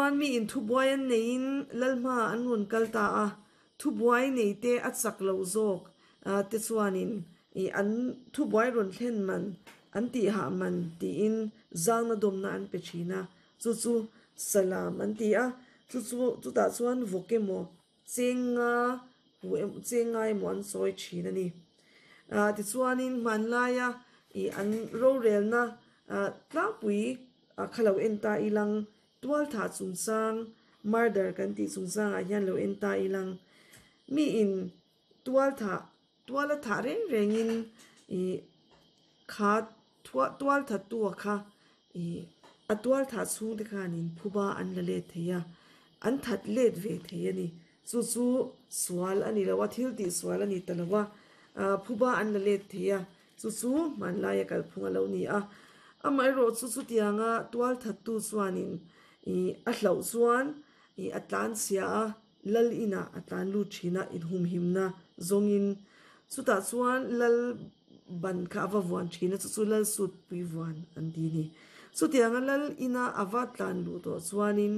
Tichuan miin thubuai an neiin lal hmaah an rawn kal ta a, thubuai neite a chak loh zawk te chuanin an thubuai rawn thlen man an tihah man tiin zangna dawmna an pe thin a, chu chu salam an ti a, chu chu chutah chuan vawk emaw Cheng nga hu emaw cheng nga emaw an sawi thin a ni. Ah tichuanin hmanlaia ih an rorelna ah tlangpui ah kha lo en ta ilang tualthah chungchang murder kan tih chungchangah hian lo en ta ilang miin tualthah tuala thah reng rengin ih kha Tual thattu a kha ih a tual thah chhung te khanin phuba an la let thei a, an that let ve thei a ni. Chu chu sual a ni lo a, thil tih sual a ni ta lo a, ah phuba an la let thei a, chu chu hmanlaia kalphung a lo ni a. Amaherawh chu chutianga tual thattu chuanin ih a hlauh chuan ih a tlanchhia a, Lal inah a tlan lut thin a, inhumhimna zawngin chutah chuan lal ban kha a va vuan thin a, chu chu lal sut pui vuan an ti a ni. Chutianga lal ina a va tlan luh tawh chuanin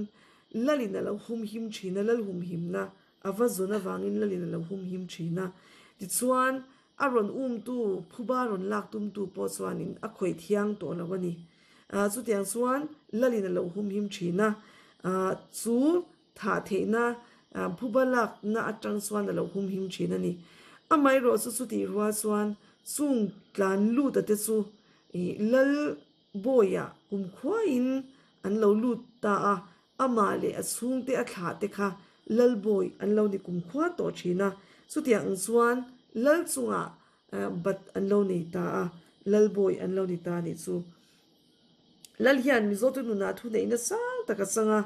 lalin a lo humhim thin a, lal humhimna a va zawn avangin lalin a lo humhim thin a. Tichuan a rawn umtu, phuba rawn lak tumtu pawh chuanin a khawih thiang tawh lo a ni. Chutiang chuan lalin a lo humhim thin a, chu Thah theihna phuba lakna atang chuan a lo humhim thin a ni. Amaherawh chu chutih rual chuan chung tlan lut a te chu ih lal bawiah kumkhuaiin an lo lut ta a, amah leh a chhungte a thlah te kha lal bawi an lo ni kumkhua tawh thin a. Chutiang ang chuan lal chungah bat an lo nei ta a, lal bawi an lo ni ta a nih chu. Lal hian Mizote nunah thuneihna sang tak a chang a,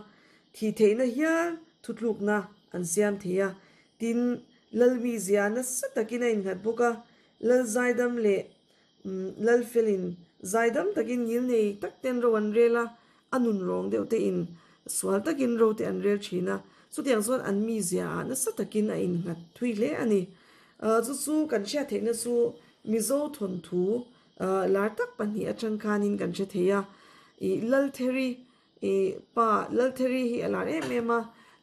thih theihna hial thutlukna an siam thei a. Tin, Lal mizia nasa takin a innghat bawk a, Lal zaidam leh Lal felin zaidam takin ngil nei tak ten ro an rel a, a nun rawng deuh te in sual takin ro te an rel thin a, chutiang chuan an mizia ah nasa takin a innghat thui hle a ni. Chu chu kan hriat theihna chu Mizo thawnthu Lar tak pahnih atang khanin kan hre thei a, ih Laltheri ih pa Laltheri hi a lar em em a,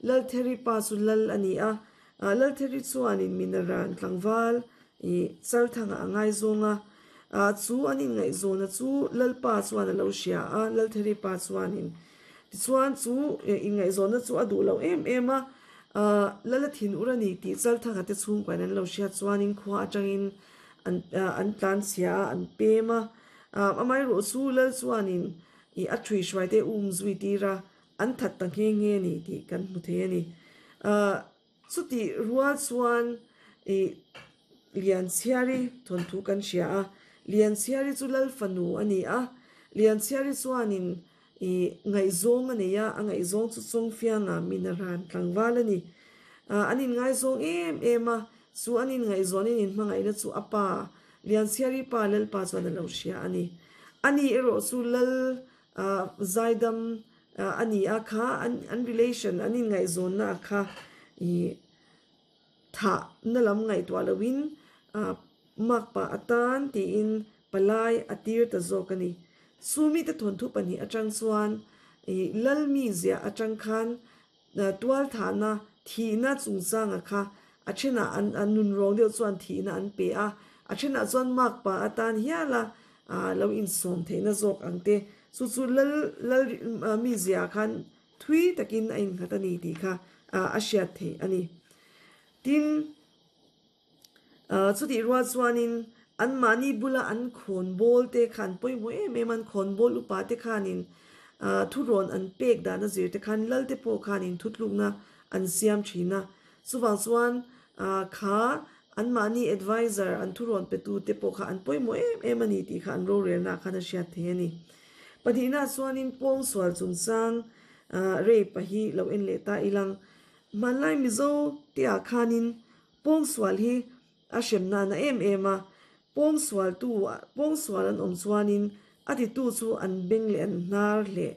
Laltheri pa chu Lal a ni a, Laltheri chuanin Minaran tlangval ih Chalthanga a ngaizawng a, ah chu an inngaihzawna chu Lalpa chuan a lo hria a, Laltheri pa chuanin tichuan chu inngaihzawnna chu a duh lo em em a, ah Lala thinur a ni tih Chalthanga te chhungkuain an lo hriat chuanin khua atangin An an tlan chhia a, an pem a. Amaherawh chu Lal chuanin ih a thui hruai te um zui tir a, an that ta nghe nghe a ni tih kan hmu thei a ni. Chutih rual chuan ih Lianchhiari thawnthu kan hria a, Lianchhiari chu Lal fanu a ni a, Lianchhiari chuanin ih ngaihzawng a nei a, a ngaihzawng chu Chawngfianga Minaran tlangval a ni. An inngaizawng em em a, Chu an inngaihzawn in inhmangaihna chu a pa, Lianchhiari pa Lalpa chuan a lo hria a ni. Ani erawh chu Lal zaidam a ni a kha, an relation, an inngaihzawnna a kha ih thahna lam ngaihtuah loin makpa atan tiin palai a tir ta zawk a ni. Chu mite thawnthu pahnih atang chuan ih Lal mizia atang khan Tualthahna, thihna chungchanga kha a thenah an an nun rawng deuh chuan thihna an pe a, a thenah chuan makpa atan hiala lo insawm theihna zawk ang te. Chu chu lal lal mizia khan thui takin a innghat a ni tih kha a hriat theih a ni. Tin. Chutih rual chuanin anmahni bula an khawnbawl te khan pawimawh em em a, an khawnbawl upa te khanin thurawn an pek dan a zir te khan lal te pawh khanin thutlukna an siam thin a. Chuvang chuan kha anmahni adviser an thurawn petu te pawh kha an pawimawh em em a ni tih kha an rorelnaah khan a hriat thei a ni. Pahnihnaah chuanin pawngsual chungchang rape a hi lo en leh ta ilang. Hmanlai Mizo te ah khanin Pawngsual hi a hrem nana em em a, pawngsualtu pawngsual an awm chuanin a titu chu an beng leh an hnar hleh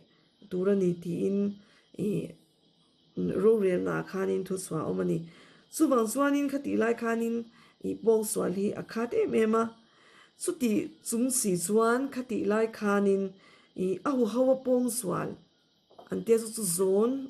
tur a ni tiin ih rorelnaah khanin thuchhuah a awm a ni. Chuvang chuanin khatih lai khanin ih pawngsual hi a khat em em a, chutih chung si chuan khatih lai khanin ih a huho a pawngsual an tia chu chu zawn.